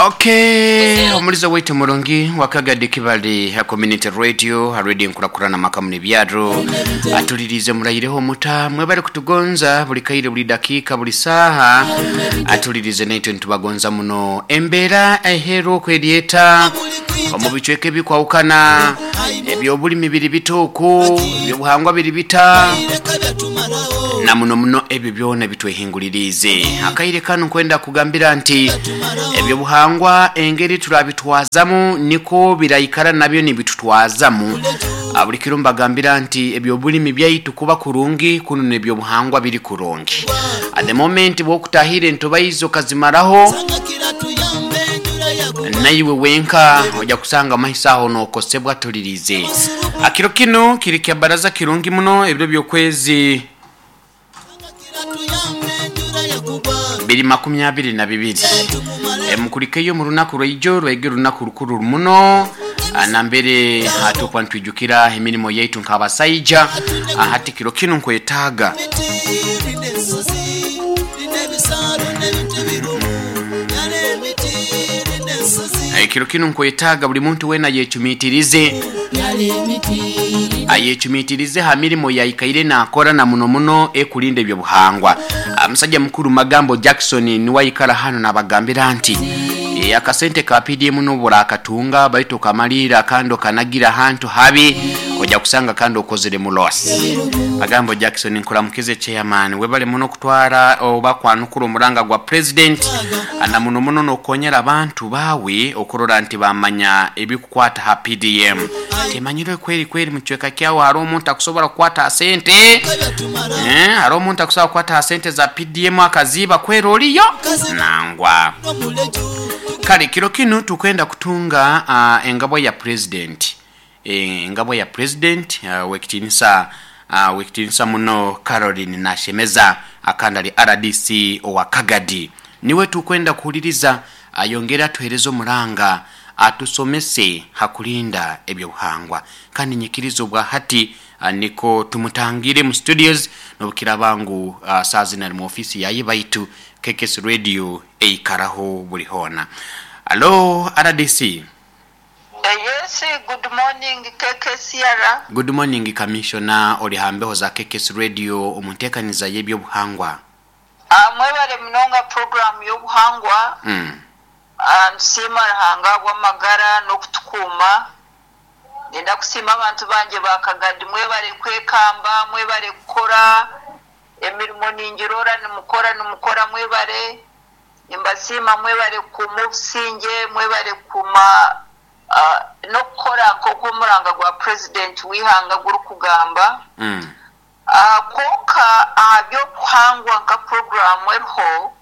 Okay, omulizo waitu murungi wakagadi kibali ha community radio ha radio nkurakurana makamu nebyaro atulirize murayireho muta mwebale kutugonza buli kaire buli dakika buli saha atulirize naitwe nitubagonza muno embeera eheru okweryeta omu bicweka ebikwawukana ebyobulimi biri bituuku ebyobuhangwa biri bita na muno muno ebyo byona bitwehingulirize. Akaire kanu nkwenda kugambira nti ebyobuhangwa engeri turabitwazamu niko biraikara nabyo nibitutwazamu. Buli kiro mbagambira nti ebyobulimi byaitu kuba kurungi kuno nebyobuhangwa biri kurungi. At the moment bwokutahira entobaizo kazimaraho naiwe wenka ojja kusanga amaiso aho nokosebwa tulirize. Akiro kino kiri kya baraza kirungi muno ebiro byokwezi 2022. Mukulikeyo mu lunaku lwaijo lwaige lunaku lukuru muno nambere hatukwa ntwijukira emirimo yaitu nk'abasaija. Hati kiro kino nkwetaaga kiro kino nkwetaaga buli muntu wena yecumitirize ayecumitirize ha mirimo yaikaire nakora na muno muno ekulinda ebyobuhangwa. Musajja mukuru Magambo Jackson niwaikara hano nabagambira nti akasente ka PDM nobura akatunga baitu kamalira kando kanagira hantu habi ojja kusanga kando okozere mu loss. Magambo Jackson nkuramukize chairman webale muno kutwara oba kwanukura omuranga gwa president na muno muno nokonyera abantu bawe okurora nti bamanya ebikukwata ha PDM. Temanyire kweri kweri muchweka kyawo hari omuntu akusobora kukwata sente hari omuntu akusobora kukwata sente za PDM akaziba kweri oliyo nangwa. Kale kiro kino tukwenda kutunga engabo ya president. Engabo ya president wekitinisa muno Caroline Nashemeza akandali RDC owa Kagadi. Niwe tukwenda kuhuliriza ayongera tuhereze omuranga atusomese hakulinda ebyobuhangwa. Kandi nyikirizo bwa hati niko tumutangire mu studios nobukira bangu saa zina mu ofisi yayi baitu KKS Radio eikaraho buli hona. Hello RDC. Yes, good morning KKCR. Good morning Commissioner oli hambeho za KKS Radio omuntekaniza y'ebyobuhangwa. Mwebale munonga program y'obuhangwa. Nsiima Ruhanga bw'amagara n'okutukuuma. Nenda kusiima abantu banje ba Kagadi mwebale kwekamba, mwebale kukora emirimo ningirora nimukora mwebale. Nimbasiima mwebale kukuuma obusinge, mwebale kukuuma n'okukora nk'oku omuranga gwa president w'ihanga gurikugamba. Kwonka aha by'obuhangwa nka program eriho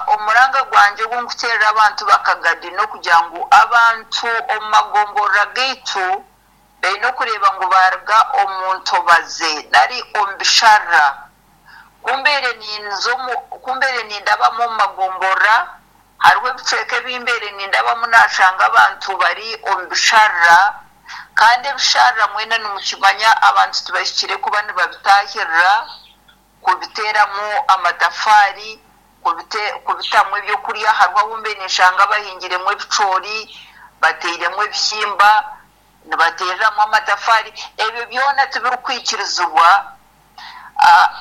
omuranga gwanje ogunkuteerera abantu ba Kagadi n'okugira ngu abantu omu magomborora gaitu baine okureeba ngu baruga omu ntobaze nari omu bisharara. Kumbeere nindabamu omu magomborora hariho ebicweka ebimbeere nindabamu nashanga abantu bari omu bisharara kandi ebisharara mwena nimukimanya abantu tibahikire kuba nibabitahirira kubiteeramu amatafaari kubitamu ebyokurya. Hariho abu ninshanga bahingiremu ebicoori bateiremu ebihimba nibateereramu amatafaari. Ebyo byona tibirikwikirizibwa.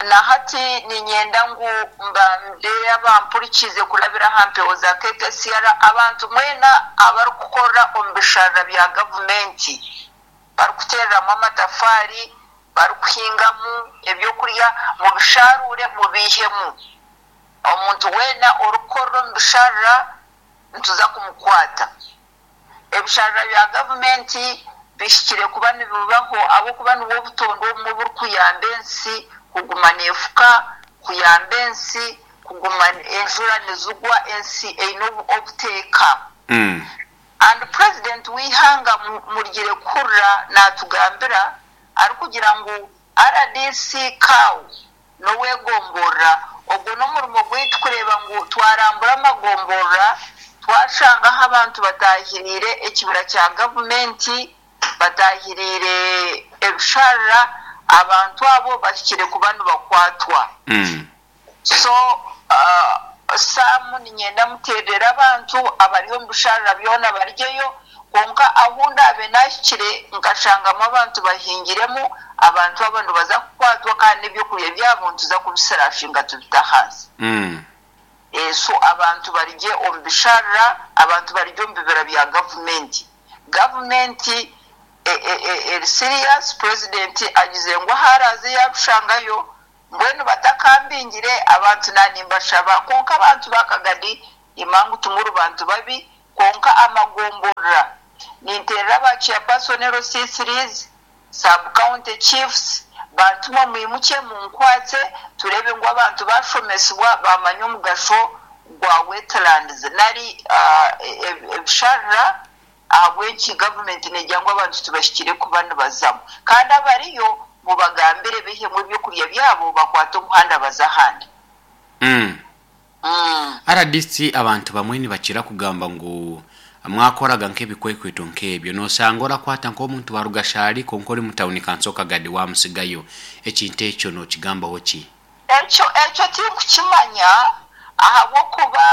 Na hati ninyenda ngu mbambe abampurikize kurabira aha mpewo za KKCR abantu mwena abarikukora omu bisharara bya gavumenti barikuteereramu amatafaari barikuhingamu ebyokurya mubisharure mubihemu. Omuntu wena orikukorera omu bisharara nituza kumukwata. Ebisharara bya gavumenti bihikire kuba nibibaho ahabw'okuba nibwo obutondo obumwe oburikuyamba ensi kuguma neefuka, kuyamba ensi kuguma enjura nizigwa ensi eine obuteeka. And president w'ihanga murigire kuhurira natugambira arikugira ngu RDC cow n'owegomborora ogwo n'omurimo gwaitu kureeba ngu twarambura amagomborora twashangaho abantu batahiriire ekibira kya gavumenti batahiriire ebisharara abantu abo bahikire kuba nibakwatwa. So Sam, niinyenda muteerere abantu abari omu bisharara byona baryeyo, kwonka ahu ndaabe naahikire nkashangamu abantu bahingiremu, abantu abo nibaza kukwatwa kandi n'ebyokurya byabo nituza kubisirashinga tubite ahansi. So abantu barye omu bisharara, abantu barye omu bibira bya gavumenti. Gavumenti eri serious, purezidenti agize ngu ahu araaze yaabishangayo, mbwenu batakambingire abantu naanimbashaba kwonka abantu ba Kagadi imangu timuri bantu babi, kwonka amagomborora ninteerera ba chairperson LC3s, sub county chiefs, bantumwe mwimukye munkwatse tureebe ngu abantu baashomesibwa baamanya omugasho gwa wetlands nari ebisharara ahabw'enki gavumenti neegira ngu abantu tibahikire kuba nibazamu. Kandi abariyo mubagambire baihemu ebyokurya byabo bakwate omuhanda baze ahandi. Rdc abantu bamwe nibakira kugamba ngu mwakoraga nk'ebikwekweto nk'ebyo noosanga orakwata nk'omuntu wa Rugashari kwonka ori mu tawuni kanso Kagadi waamusigayo. Ekintu ekyo nookigambaho ki? Ekyo ekyo tinkukimanya ahabw'okuba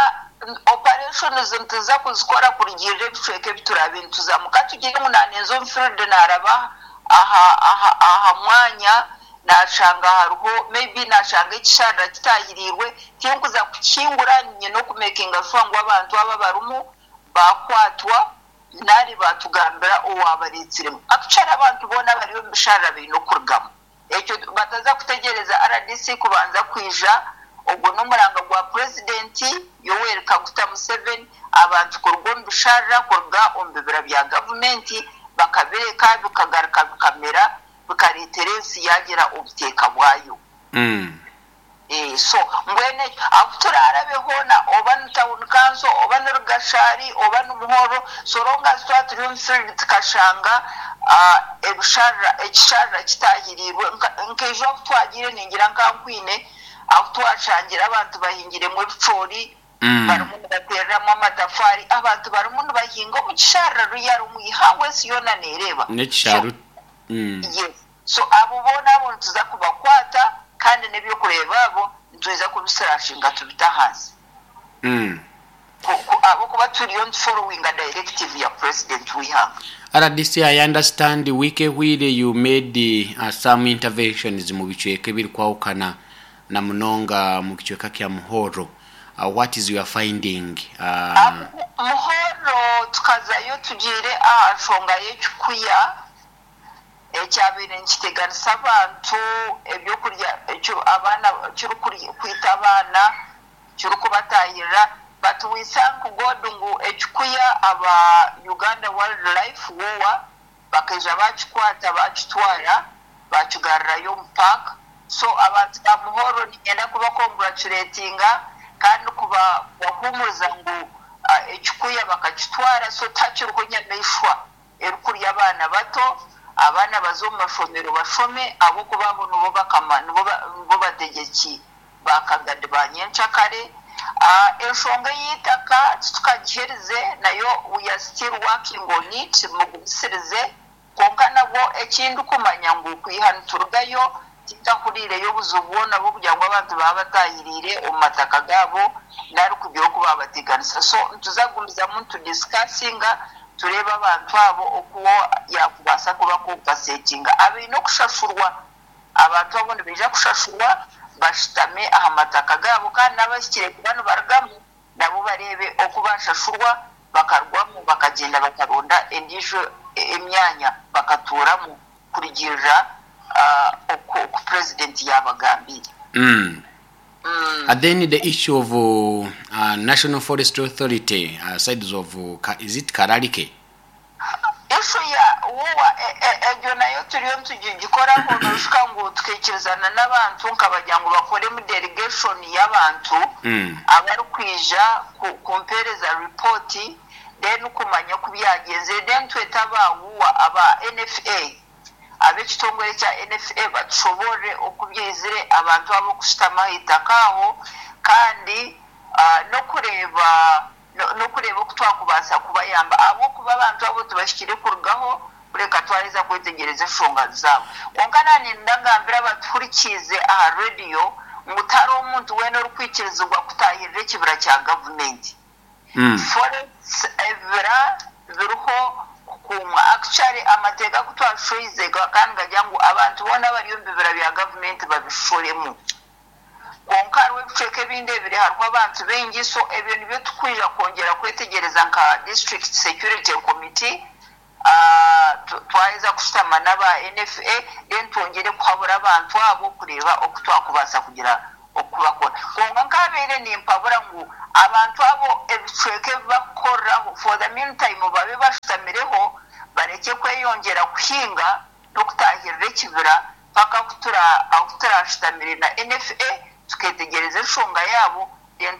operations nituza kuzikora kurugiirira ebicweka ebi turaabe nituzamu. Ka tugire ngu naaninza omu field naaraba aha aha aha mwanya naashanga hariho maybe naashanga ekisharara kitaahiriirwe, tinkuza kukihingura nyine okumekinga shuwa ngu abantu abo abarimu baakwatwa nari baatugambira owaabareetsiremu. Actually abantu boona abari omu bisharara baine okurugamu. Ekyo bataza kutegyereza rdc kubanza kwija, ogwo n'omuranga gwa Purezidenti Yoweri Kaguta Museveni, abantu kuruga omu bisharara, kuruga omu bibira bya gavumenti bakabireka bikagaruka bikamera bikareetera ensi yaagira obuteeka bwayo. So mbwenu ekyo ahu turaarabe hoona oba ni town council oba ni Rugashari oba ni Muhorro so long as twaba turi omu field tukashanga ebisharara ekisharara kitaahiriirwe nka ejo ahu twagiire ningira nka Nkwine ahu twashangire abantu bahingiremu ebicoori barimu nibateereramu amatafaari abantu barimu nibahinga omu kisharara ruyara omu ihangwe ensi yoona neereeba. So N'ekishaaru. Yes. So abo boona abo nituza kubakwata kandi n'ebyokureeba abo nitwija kubisirashinga tubite ahansi. Ahabw'okuba turiyo nituforowinga directive ya President w'eihanga. Rdc I understand wiiki ehweire you made some interventions mu bicweka ebirikwahukana na munonga mu kicweka kya Muhorro. What is your finding? Muhorro tukazayo tugiire aha nshonga y'ekikuya ekyabaire nikiteganisa abantu ebyokurya abaana kirikwita abaana kirikubatahirira but we thank God ngu ekikuya aba Uganda Wildlife WOA bakaija bakikwata bakitwara bakigarurayo omu park so abantu ba Muhorro niinyenda kuba congratulatinga kandi kubahuumuriza ngu ekikuya bakakitwara so tihakiriho nyamaishwa erikurya abaana bato, abaana baze omu mashomero bashome ahabw'okuba abo nibo bakama nibo bategyeki ba Kagadi ba nyenkyakare. Enshonga ey'eitaka titukagiherize nayo we are still working on it mugumisirize kwonka nabwo eki ndikumanya ngu kwiha niturugayo tintahuriireyo obuzibu bwona bw'okugira ngu abantu baaba bataahiriire omu mataka gaabo nari kugira oku baabateganisa so nituza kugumizamu nitudisikasinga tureebe abantu abo oku yaakubaasa kubakompansetinga. Abaine okushashurwa, abantu abo nibaija kushashurwa bashutame aha mataka gaabo kandi n'abahikire kuba nibarugamu nabo bareebe oku baashashurwa bakarugwamu bakagyenda bakaronda endiijo emyanya bakatuuramu kurugiirira oku Purezidenti yaabagambiire. And then the issue of National Forestry Authority sides of is it Kararike? Issue ya WOA egyo nayo turiyo nitugikoraho nooshuka ngu tukaikirizana n'abantu nkabagira ngu bakoremu delegation y'abantu abarikwija kumpeereza ripooti then kumanya oku byagyenzire then twete aba WOA aba NFA ab'ekitongore kya NFA batushoboorore oku byaizire abantu abo kushutama aha itaka aho kandi n'okureeba n'okureeba oku twakubaasa kubayamba ahabw'okuba abantu abo tibahikire kurugaho kureka twaheza kwetegyereza enshonga zaabo. Kwonka naanye ndagambira abatuhurikiize aha rediyo ngu tihariho omuntu weena orikwikirizibwa kutaahirira ekibira kya gavumenti. Forests, ebibira biriho kukuumwa. Actually amateeka agu twashoize gakaba nigagira ngu abantu boona abari omu bibira bya gavumenti babishoremu. Kwonka hariho ebicweka ebindi ebiri hariho abantu baingi so ebyo nibyo tukwija kwongyera kwetegyereza nka District Security Committee twaheza kushutama n'aba NFA then twongyere kuhabura abantu abo kureeba oku twakubaasa kugira oku bakora. Kwonka nkabaire nimpabura ngu abantu abo ebicweka ebi bakukoreraho for the meantime babe bashutamireho barekye kweyongyera kuhinga n'okutaahirira ekibira paka ahu turashutamire na NFA tuketegyereza enshonga yaabo then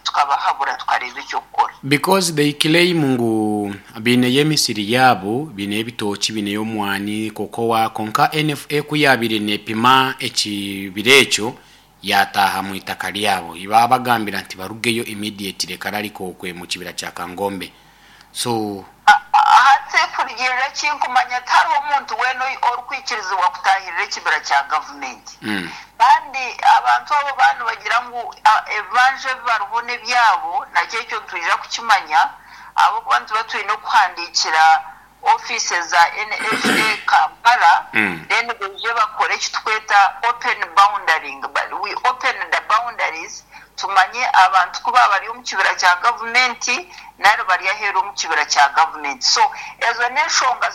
tukabahabura tukareeba eky'okukora. Because they claim ngu baineyo emisiri yaabo, baineyo ebitookye, baineyo omwani, cocoa, kwonka NFA ku yaabaire neepima ekibira ekyo, yaataaha mu itaka ryabo. Baabagambira nti barugeyo immediately kararika okwe mu kibira kya Kangombe. So. Hati kurugiirira eki nkumanya tihariho muntu weena orikwikirizibwa kutaahirira ekibira kya gavumenti. Kandi abantu abo baaba nibagira ngu ebibanja ebi bariho n'ebyabo, nakyo ekyo nitwija kukimanya ahabw'okuba nituba twine okuhandiikira ofiisi za NFA Kampala then baije bakore eki tukweta open boundaring, we open the boundaries tumanye abantu ku baaba bari omu kibira kya gavumenti nari bari aheeru omu kibira kya gavumenti. So ezo n'enshonga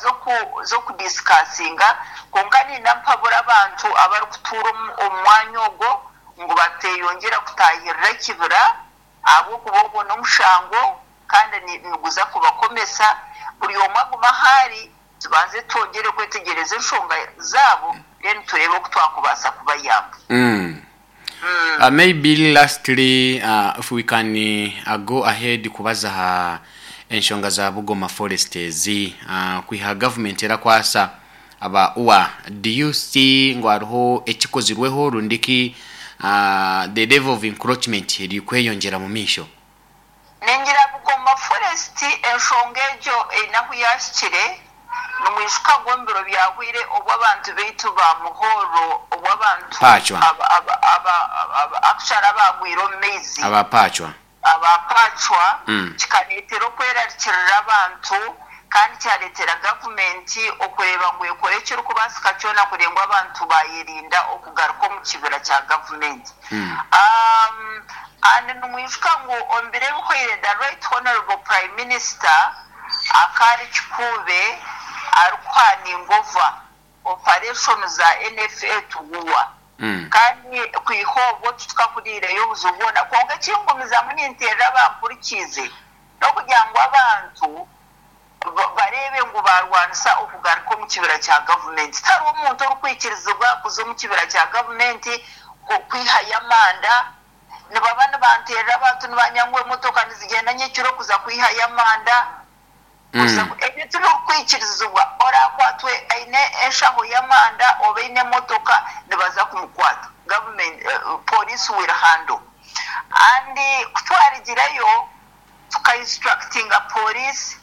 z'okudisikasinga kwonka ninda mpabura abantu abarikutuura omu mwanya ogwo ngu bateeyongyera kutaahirira ekibira ahabw'okuba ogwo n'omushango kandi niguza kubakomesa. Buri omwe agume ahu ari, tubanze twongyere kwetegyereza enshonga zaabo then tureebe oku twakubaasa kubayamba. Maybe lastly if we can go ahead kubaza aha enshonga za Bugoma Forest ezi, kwiha government erakwasa aba ua, do you see ngu hariho ekikozirweho rundi ki the level of encroachment erikweyongyera mu maisho? Ningira Bugoma Forest enshonga egyo eine ahu yahikire, nimwijuka ngu omu biro byahweire obu abantu baitu ba Muhorro obu abantu Paachwa. Actually abaagwire omu maizi. Aba Paachwa. Aba Paachwa, kikareetera okwerarikirira abantu kandi kyareetera gavumenti okureeba ngu ekore ekirikubaasika kyona kureeba ngu abantu baayerinda okugaruka omu kibira kya gavumenti. And nimwijuka ngu omu biro ebihweire the Right Honourable Prime Minister akaari Kikuube arikuhaninga over operation za NFA Tuguwa kandi kwiha obwo titukahuriireyo obuzibu bwona. Kwonka ekingumizamu ninteerera abampurikiize n'okugira ngu abantu bareebe ngu baarwanisa okugaruka omu kibira kya gavumenti. Tihariho omuntu orikwikirizibwa kuza omu kibira kya gavumenti kwihayo amanda. Nibaba nibanteerera abantu nibanya ngu emotoka nizigyenda nyekiro kuza kwihayo amanda. Ebyo tibirikwikirizibwa. Oraakwatwe aine enshaho y'amanda oba aine emotoka nibaza kumukwata. Gavumenti, police will handle. And ku twarigireyo tuka instructinga police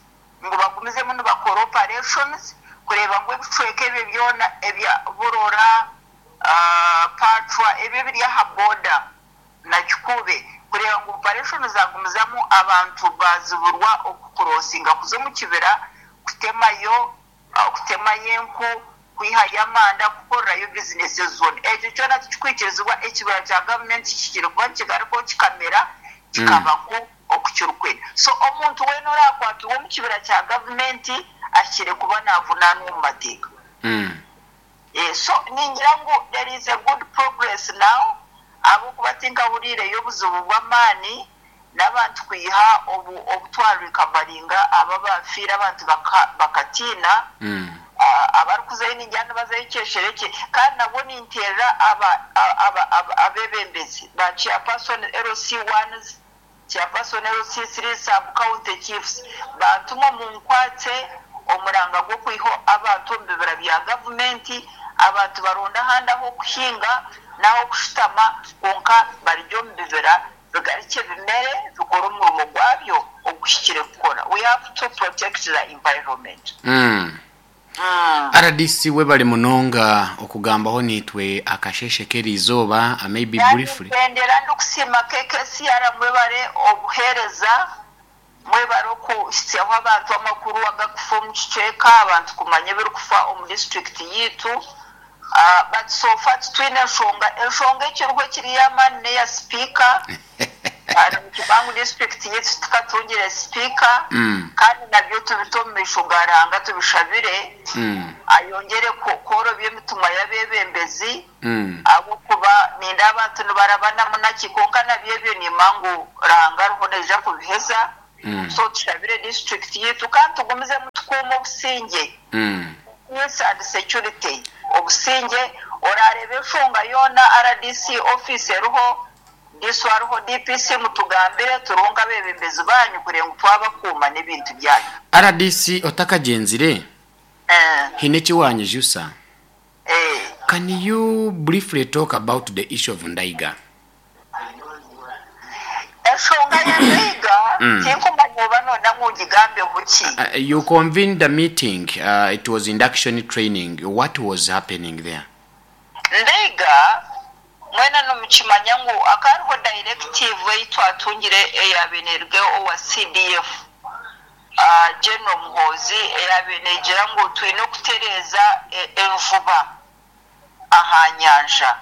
ngu bagumizemu nibakora operations kureeba ngu ebicweka ebyo byona ebya Burora, Pacwa ebyo ebiri aha boda na Kikuube kureeba ngu operation zagumizamu abantu baziburwa okukurosinga kuza omu kibira kutemayo kutemayo enku, kwihayo amanda, kukorerayo bizinesi zoona. Ekyo kyona tikikwikirizibwa, ekibira kya gavumenti kihikire kuba nikigarukaho kikamera kikaba nku oku kirikwenda. So omuntu weena oraakwatirwe omu kibira kya gavumenti ahikire kuba naavunaanwa omu mateeka. So ningira ngu there is a good progress now ahabw'okuba tinkahuriireyo obuzibu bw'amaani n'abantu kwiha obu obu twa recoveringa abo abaafiire abantu bakatiina abarikuzayo ningira nibazayo kyesherekye kandi nabwo ninteerera aba aba abeebembezi ba chairperson LC ones, chairperson LC three, sub county chiefs bantumwe munkwatse omuranga gw'okwiha abantu omu bibira bya gavumenti abantu baronde ahandi ah'okuhinga n'ah'okushutama kwonka barugye omu bibira bigarukye bimere bikore omurimo gwabyo oguhikire kukora. We have to protect the environment. RDC, webale munonga okugambaho niitwe akasheshe k'eriizooba, maybe briefly. Nendera ndikusiima KKCR, mwebare obuheereza, mwebare okuhitsyaho abantu amakuru agakufa omu kicweka, abantu kumanya ebirikufa omu disiturikiti yiitu. But so far titwine enshonga. Enshonga ekiriho ekiri ey'amaani n'eya sipiika. Nikimanya ngu disiturikiti yaitu tikatungire sipiika, kandi nabyo tubite omu maisho ga Ruhanga tubishabire ayongyere kworobya emitima y'abeebembezi, ahabw'okuba nindeeba abantu nibarabanamu naki, kwonka nabyo ebyo nimanya ngu Ruhanga ariho naija kubiheza. So tushabire disiturikiti yaitu kandi tugumizemu tukuume obusingye, peace and security, obusingye. Orareeba enshonga yoona, RDC office eriho, DISO ariho, DPC, mutugambire, turiho nk'abeebembezi baanyu kureeba ngu twabakuuma n'ebintu byanyu. RDC, otakagyenzire, haine eki waanyijusa. Can you briefly talk about the issue of Ndaiga? Enshonga ya Ndaiga tinkumanya oba noyenda ngu ngigambeho ki. You convened a meeting, it was induction training, what was happening there? Ndaiga, mwena nimukimanya ngu hakaba hariho directive ei twatungire eyaabaire neeruga owa CDF, General Muhoozi, eyaabaire neegira ngu twine okutereeza enjuba aha nyanja.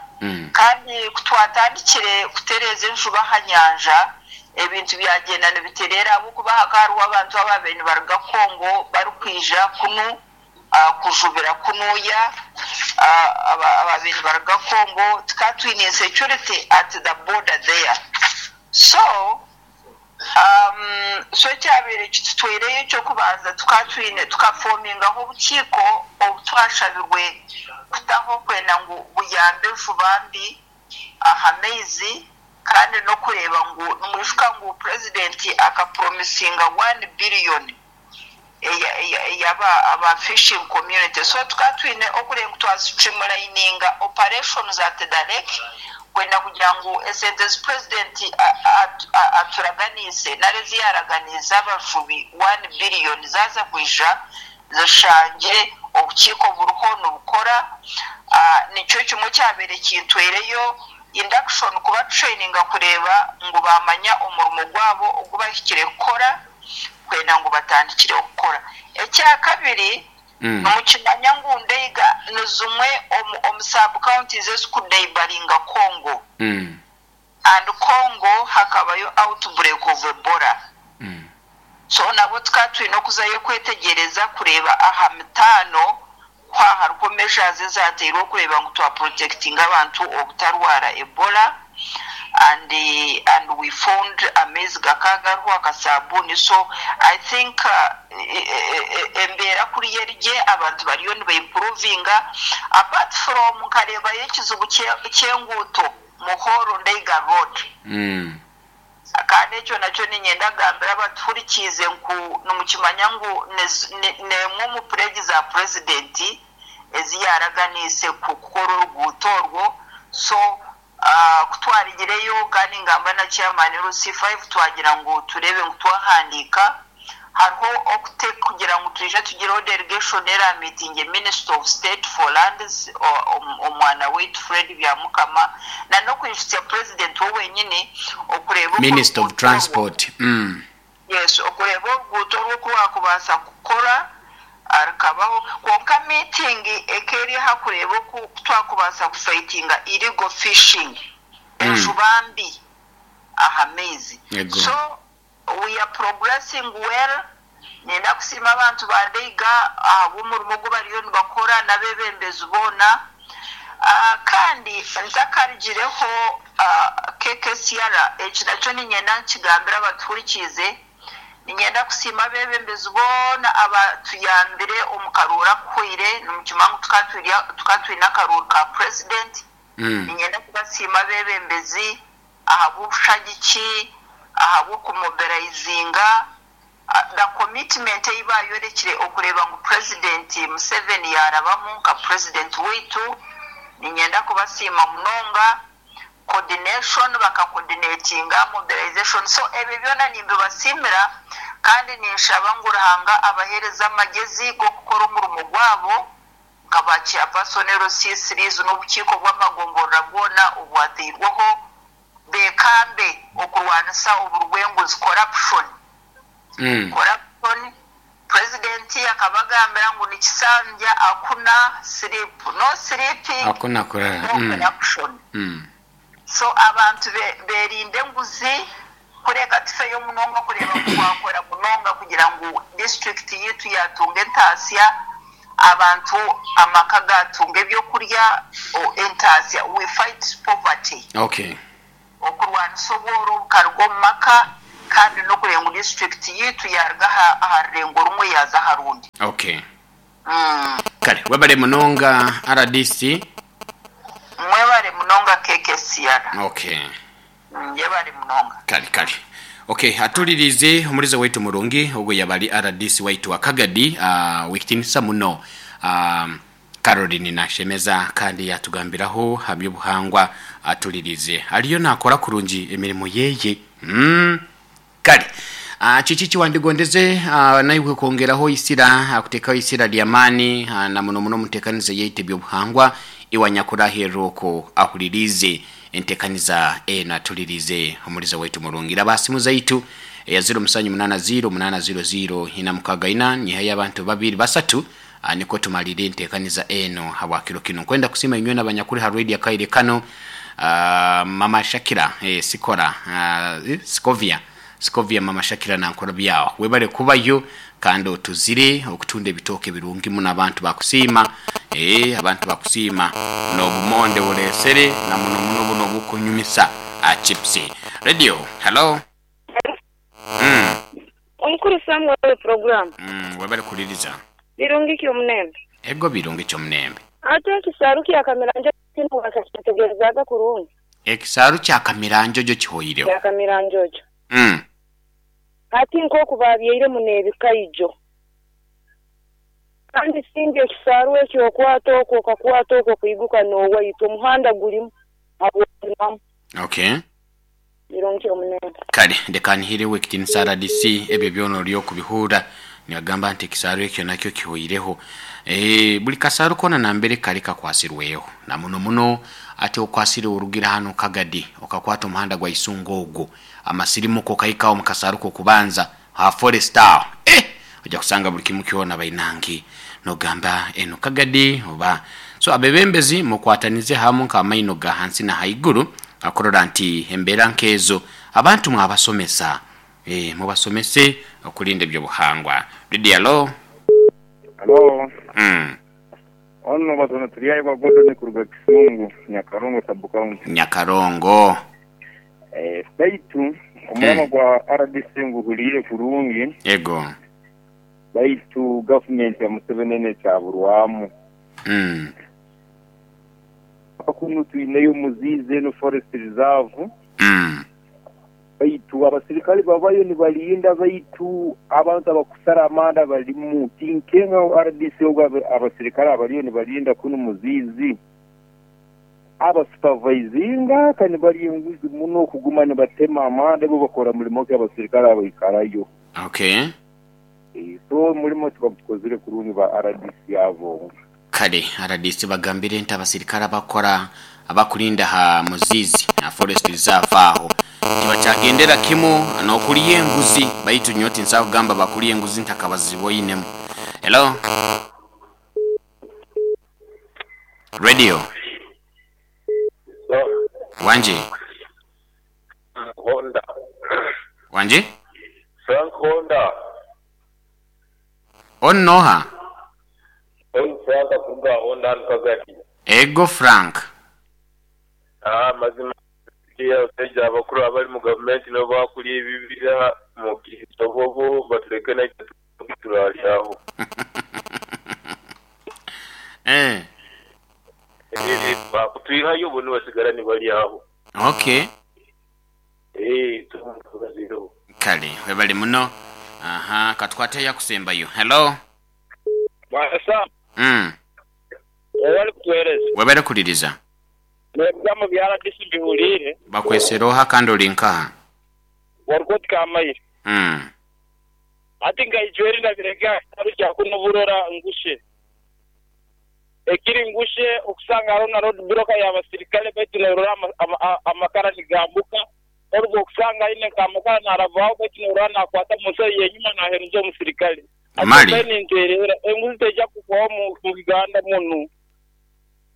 Kandi ku twatandikire kutereeza enjuba aha nyanja, ebintu byagyenda nibitereera ahabw'okuba hakaba hariho abantu abaabaire nibaruga Congo barikwija kunu kujubira kunuya, abaabaire nibaruga Congo, tukaba twine insecurity at the border there. So ekyabaire kitutweireyo eky'okubanza tukaba twine tukafomingaho obukiiko obu twashabirwe kutaho kwenda ngu buyambe enjuba mbi aha maizi, kandi n'okureeba ngu nimwijuka ngu purezidenti akapromisinga 1 billion eyaba aba fishing community. So tukaba twine okureeba ngu twastreamlininga operations at the lake kwenda kugira ngu esente ezi purezidenti aturaganiise nari ezi yaaraganiize abajubi 1 billion zaaza kwija zishangye obukiiko buriho nibukora. Nikyo kimwe kyabaire kintweireyo induction, kuba traininga kureeba ngu baamanya omurimo gwabo ogu bahikire kukora kwenda ngu batandikireho kukora. Ekyakabiri, nimukimanya ngu Ndeiga ni zimwe omu sub counties ezikuneighboringa Congo, and Congo hakabayo outbreak of Ebola. So nabo tukaba twine okuzayo kwetegyereza kureeba aha mitaano ku hariho measures ezateirwe okureeba ngu twaprotectinga abantu obutarwara Ebola, and we found amaizi gakaba gariho akasabuuni. So I think embeera kuriya erigye, abantu bariyo nibaimprovinga. Apart from nkareebayo ekizibu ky'enguuto, Muhoro Ndeiga Road, kandi ekyo nakyo niinyenda kugambira abatuhurikiize ngu nimukimanya ngu n'emwe omu pledge za purezidenti ezi yaaraganiise kukora oruguuto orwo. So ku twarigireyo kandi ngamba na chairman LC5, twagira ngu tureebe ngu twahandiika hariho okute kugira ngu twije tugireho delegation era meeting Minister of State for Lands, omwana waitu Fred Byamukama, na n'okwijutsya president we wenyini okureeba oku Minister of oruguuto orwo Transport. Yes, okureeba oruguuto orwo oku rwakubaasa kukora rukabaho. Kwonka meeting eka eri aha kureeba oku twakubaasa kufightinga illegal fishing, enjuba mbi aha maizi. So we are progressing well. Nenda kusiima abantu ba Ndeiga ahabw'omurimo ogu bariyo nibakora n'abeebembezi boona. Kandi ntakarugireho, KKCR, eki nakyo niinyenda nkigambire abatuhurikiize, niinyenda kusiima abeebembezi boona abatuyambire omu karuuru akuhweire. Nimukimanya ngu tukaba twine akaruuru ka president. Niinyenda kubasiima abeebembezi ahabw'obushagiki, ahabw'okumobilizinga, the commitment ei bayorekire okureeba ngu President Museveni yaarabamu nka president waitu. Niinyenda kubasiima munonga, coordination, bakacoordinatinga mobilization. So ebyo byona nimbibasiimira. Kandi ninshaba ngu Ruhanga abaheereze amagezi g'okukora omurimo gwabo nka ba Chairperson LC3s n'obukiiko bw'amagomborora bwona obwateirweho beekambe okurwanisa oburwenguzi, corruption. Corruption, Purezidenti akabagambira ngu nikisanja hakuna sleep, no sleeping, Hakuna kurara. no corruption. So abantu berinde enguzi kureka tufeyo munonga kureeba ngu twakora munonga kugira ngu disiturikiti yaitu yaatunga entaasya, abantu amaka gaatunga ebyokurya, entaasya, we fight poverty. Okurwanisa obworo bukaruga omu maka kandi n'okureeba ngu disiturikiti yaitu yaaruga aha rurengo rumwe yaaza aha rundi. Kare webare munonga rdc. Mwebare munonga KKCR. Yebare munonga. Kare kare. Ok atuliriize omuriza waitu murungi ogwo yaba ari rdc waitu wa Kagadi owekitinisa muno Caroline Nashemeza kandi yatugambiraho aha by'obuhangwa atuliriize ariyo nakora kurungi emirimo yeye. Kare kiki eki wandigondeze naiwe kwongeraho eisira, kuteekaho eisira ry'amaani na muno muno omu nteekaniza yaitu eby'obuhangwa iwe anyakurahirira okwo ahuririize enteekaniza enu atuliriize omuriza waitu murungi. Raba aha simu zaitu eya ziro musanju munaana ziro munaana ziro ziro ina mukaaga ina nyihayo abantu babiri basatu nikwo tumalire enteekaniza enu habwa kiro kinu. Nkwenda kusiima inywena abanyakuri ha radio akaire kanu Mama Shakira Sikora Sikovia Sikovia Mama Shakira nankora byaho. Webale kubayo kandi otuzire okutunda ebitooke birungi muno abantu bakusiima. Abantu bakusiima n'obumonde buresere na muno muno buno obukunyumisa chips. Radio, hello. Omukuru Samuel we puroguramu. Webale kuhuliriza. Birungi ki omunembe? Ego birungi ki omunembe. Ate ekisaaru kya Kamiranjojo kinu wakakyetegerezaaga kurungi? Ekisaaru kya Kamiranjojo kihoireho. Kya Kamiranjojo. Hati nk'oku baabyairemu n'ebikaijo. Kandi singa ekisaaru ekyo okwata okwo okakwata okwo kwiguka n'owaitu, omuhanda gulimu habw'okulimamu. Birungi omunembe. Kale leka nhireho ekitinisa rdc ebyo byona ori okubihurra nibagamba nti ekisaaru ekyo nakyo kihoireho. Buri kasaaru koona nambere kari kakwasirweho na muno muno ati okwasire orugire hanu Kagadi okakwata omuhanda gwa Isunga ogwo amasirimuka okahika aho omu kasaaru k'okubanza aha forest aho eh! Oja kusanga buri kimu kyona bainange nogamba enu Kagadi oba so abebembezi mukwatanize hamu nk'amaino ga hansi na haiguru Akurora nti embeera nk'ezo abantu mwabasomesa. Eeh mubasomese okulinda eby'obuhangwa. Lydia Lo. Halo. Ono Batono Turyahebwa Gordon kuruga Kisungu, Nyakarongo Sub County. Nyakarongo. Baitu omurama gwa rdc nguhuliire kurungi. Ego. Baitu gavumenti ya Museveni eno ekyaburwamu. Kunu twineyo Muziizi eno Forest Reserve. Baitu abasirikale babayo nibalinda baitu abantu abakusara amanda balimu. Tinkenga rdc ogu abasirikale abaliyo nibalinda kunu Muziizi abasupavaizinga ka nibalya enguzi muno kuguma nibatema amanda bo bakora mulimo ki abasirikale abaikarayo. So omulimo tibagukozire kurungi ba rdc abo. Kale rdc bagambire nti abasirikare abakora abakurinda aha Muzizi Forest Reserve aho tibakyagendera kimu n'okurya enguzi baitu nyowe tinsobola kugamba bakurya enguzi ntakabaziboinemu. Hello Radio. Wangi. Honda. Wangi? Frank Honda. Onu n'oha? Onu Frank kuruga Honda hanu Kagadi. Ego Frank. Amazima abasaija abakuru abali mu gavumenti nibo bakulya ebibira mu Kitobobo batuleke naitwe turalyaho. Bakutwihayo bo nibasigara nibalyaho. Kale webale muno. Aha katukwate eyakusembayo. Hello. Bwana Sam, webale kutuhereza. Webale kuhuliriza. N'ebigambo bya rdc mbihuliire. Bakwesera oha kandi ori nkaha? Warikoti Kamaire. Hati nkaijweri nabirege aha kitaro kya kunu Burora Ngushe. Ekiri Ngushe okusanga hariho na road block y'abasirikale baitu norora amakara nigambuka, oruga okusanga aine nk'amakara naravaho baitu norora nakwata mu nsaho y'enyuma naheruza omusirikale. Ati Mali. mbaire ninterera, enguzi teija kuhwaho mu Uganda munu.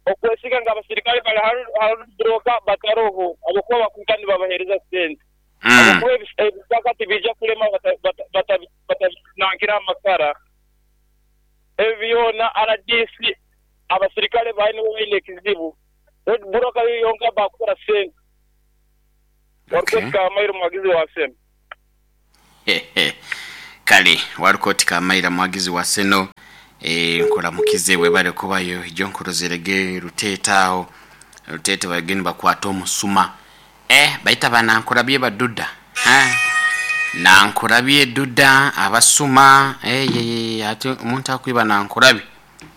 Okwesiga ngu abasirikale bari ha road block bataroho habwokuba bakwika nibabahereza sente. Habwokuba ebisaka tibiija kulema batabinankire amakara. Ebi byona rdc abasirikale baayo nibo baine ekizibu. Road block yo yonka bakukora sente. Okay. Warukoti Kamaira omuhagizi wa Seno. Kale Warukoti Kamaira muhagizi wa Seno nkuramukize webale kubayo ijo nkurozerege Ruteete aho Ruteete bagende bakwata omusuma baita banankurabye baduda ha nankurabye duda abasuma ati omuntu akwiba nankurabye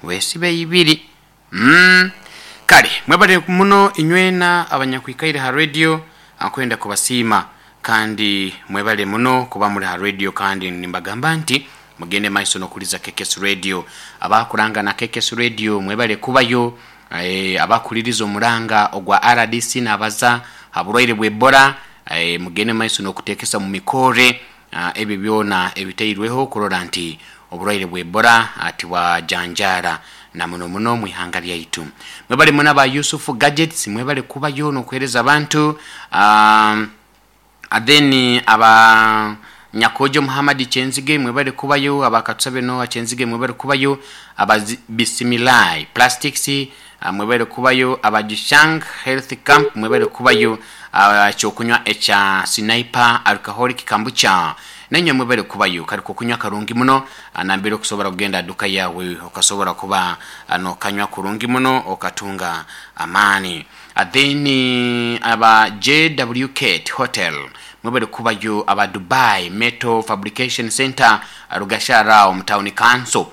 wesibe ibiri. Kale mwebale muno inywena abanyakwikaire ha radio akwenda kubasiima kandi mwebale muno kuba muri ha radio kandi nimbagamba nti mugende maiso nokuliza KKS Radio. Abakuranga na KKS Radio mwebale kubayo, abakuliriza omuranga ogwa RDC nabaza haburwaire bw'Ebola, mugende maiso nokutekesa mu mikore, ebyo byona ebiteirweho kurora nti oburwaire bw'Ebola ati bwajanjara na muno muno mu ihanga lyaitu. Mwebale muna ba Yusufu Gadgets mwebale kubayo nokuhereza abantu, then aba Nyakojo Muhammad Chenzige mwebale kubayo, abakatusabe Noah Chenzige mwebale kubayo, aba Bisimilai Plastics mwebale kubayo, aba Jishang Health Camp mwebale kubayo, kyokunywa echa Sniper Alcoholic Kombucha nanye mwebale kubayo, kariko kunywa karungi muno, nambere okusobora kugenda duka yawe okasobora kuba nokanywa kurungi muno okatunga amani. Then aba JWK Hotel mwebale kubayo, aba Dubai Metal Fabrication Center Rugashara mu Town Council,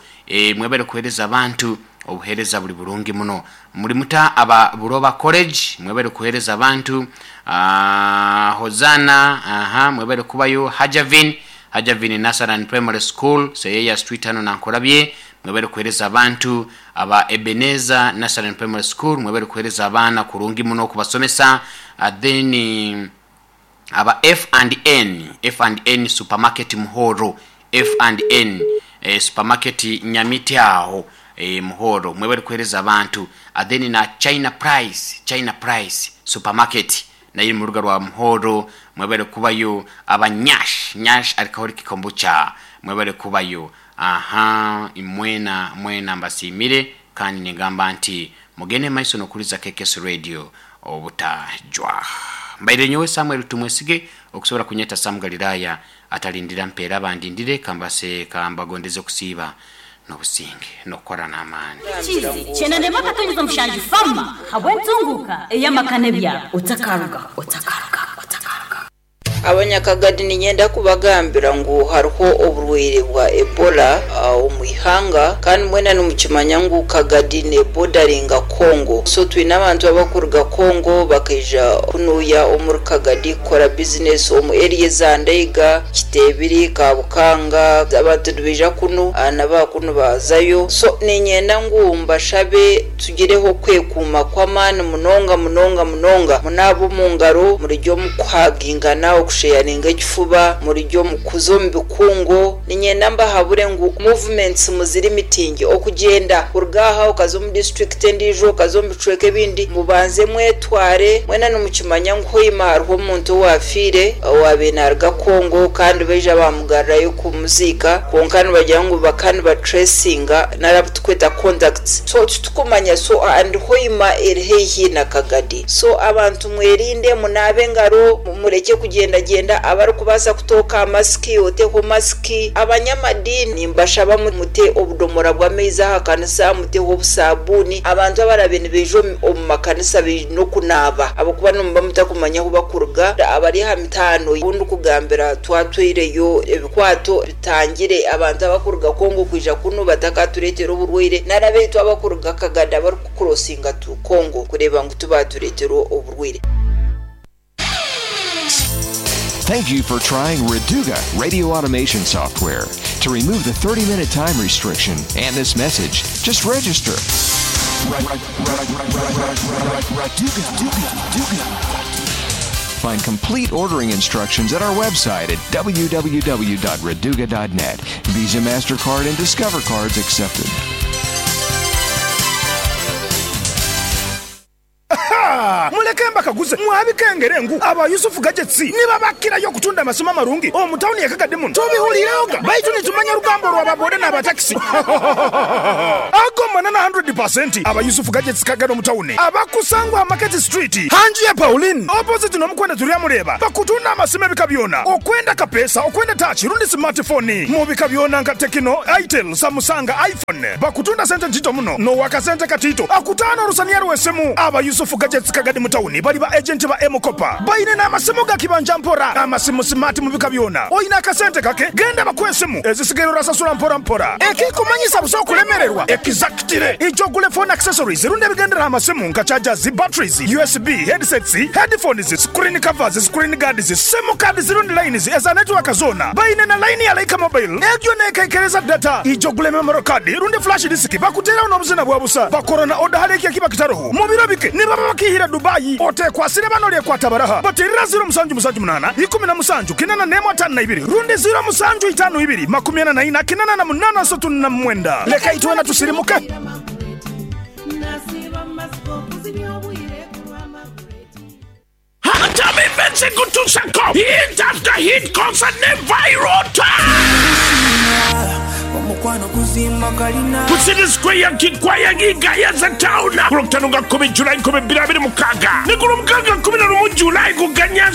mwebale kuhereza abantu obuhereza buli burungi muno. Muri muta aba Buroba College mwebale kuhereza abantu, Hozana mwebale kubayo, Hajavin Nasaran Primary School Seyeya Street hano nankorabye mwebale kuhereza abantu, aba Ebenezer Nasaran Primary School mwebale kuhereza abana kurungi muno kubasomesa. Then aba F&N Supermarket Muhoro, F&N Supermarket Nyamiti aho Muhoro mwebale kuhereza abantu. Then na China Price Supermarket nayo mu ruga rwa Muhoro mwebale kubayo, aba Nyash Alcoholic Kombucha mwebale kubayo. Imwena mbasimire kandi nigamba nti mugende maiso nokuliza KKS Radio obutajwa. Mbaire nyowe Samuel Tumwesige okusobola kunyeta Sam Galilaya atalindira mpeera bandindire kambase kambagondeze kusiiba n'obusinge n'okukora n'amaani. Chizi chenande makatonyeza mushanju fama habwentunguka eyamakane bya otakaruga. Abanyakagadi ninyenda kubagambira ngu hariho oburwaire bwa Ebola omu ihanga kandi mwena nimukimanya ngu Kagadi ne bordaringa Congo. So twine abantu abakuruga Congo bakaija kunuya omuri Kagadi kukora business omu area za Ndeiga, Kitebiri, Kabukanga, abantu nibaija kunu naba kunu bazayo. So ninyenda ngu mbashabe tugireho kwekuuma kw'amaani munonga munonga munonga, munaaba omu ngaro, murijyo mukuhagingana okusheyaringa ekifuba, murijyo mukuza omu bikungu. Ninyenda mbahabure ngu movements muziri mitingi okugenda kuruga aha okaza omu district endiijo okaza omu bicweka ebindi, mubanze mwetware. Mwena nimukimanya ngu hoima hariho omuntu owafiire owabiire naruga Congo kandi baija bamugarurayo kumuziika, kwonka nibagira ngu bakaba nibatracinga nari tukweta contacts, so titukumanya. So and hoima eri haihi na Kagadi. So abantu mwerinde, munaabe engaro, mureke kugendagenda, abarikubaasa kutooka masiki oteho masiki. Abanyamadini mbashaba mute obudomora bw'amaizi aha kanisa, muteho obusabuni. Abantu abarabe nibaija omu makanisa baine okunaaba ahabw'okuba nimuba mutakumanya ahu bakuruga. Abari aha mitaano obundi kugambira twatwireyo ebikwato bitangire abantu abakuruga Congo kwija kunu batakatureetera oburwaire, nari abaitu abakuruga Kagadi abarikukurosinga tu Congo kureeba ngu tubatureetera oburwaire. Thank you for trying Raduga radio automation software. To remove the 30-minute time restriction and this message, just register. Find complete ordering instructions at our website at www.raduga.net. Visa, MasterCard, and Discover cards accepted. Ha! Muleke mbakaguze mwabikengere ngu aba Yusuf Gadgets nibabakirayo okutunda amasimu amarungi omu tawuni ye Kagadi muno. Tubihuliirehoga baitu nitumanya orugambo rwa ba boda n'aba takisi. Ago manana hundred pasenti. Aba Yusuf Gadgets Kagadi omu tawuni abakusangwa ha Market Street hanju ya Pauline opposite n'omukwenda Turyamureeba bakutunda amasimu ebika byona okwenda kapeesa, okwenda tachi rundi smart phone mu bika byona nka Tecno, Itel, Samusanga, iPhone. Bakutunda sente ntito muno n'owakasente katito akutaana orusaniya rw'esimu. Aba Yusuf Gadgets Kagadi mu tawuni bali ba agenti ba M-Kopa. Baine n'amasimu ga kibanja mpora, amasimu simaati mu bika byona. Oine akasente kake, genda bakuhe esimu, ezisigaire orasasura mpora mpora. Ekikumanyisa busa okulemererwa, ekizakitire. Ija ogule phone accessories rundi ebigendera aha masimu nka chargers, batteries, USB, headsets, headphones, screen covers, screen guards, simu cards rundi lines eza network zoona. Baine na line ya Lyca Mobile egyo neekaikereza data. Ija ogule memory card rundi flash disk bakuteeraho n'obuzina bwa busa. Bakora na oda hali eki ekiba kitaroho. Mu biro bike nibaba bakiihire Dubai. Oteekwasire bano oryekwata baraha. Bateerera ziro musanju musanju munaana, ikumi na musanju, kinana n'emwe ataano na ibiri rundi ziro musanju itaano ibiri, makumi ana na ina, kinana na munaana asatu na mwenda. Leka itwena tusirimuke. Hatami Events ekutuusako hit after hit concert ne Viral Ku City Square Kikwaya Gayaza Town ku Lwokutaano nga 10 July 2026 ne ku Lwomukaaga 11 July ku Ganya.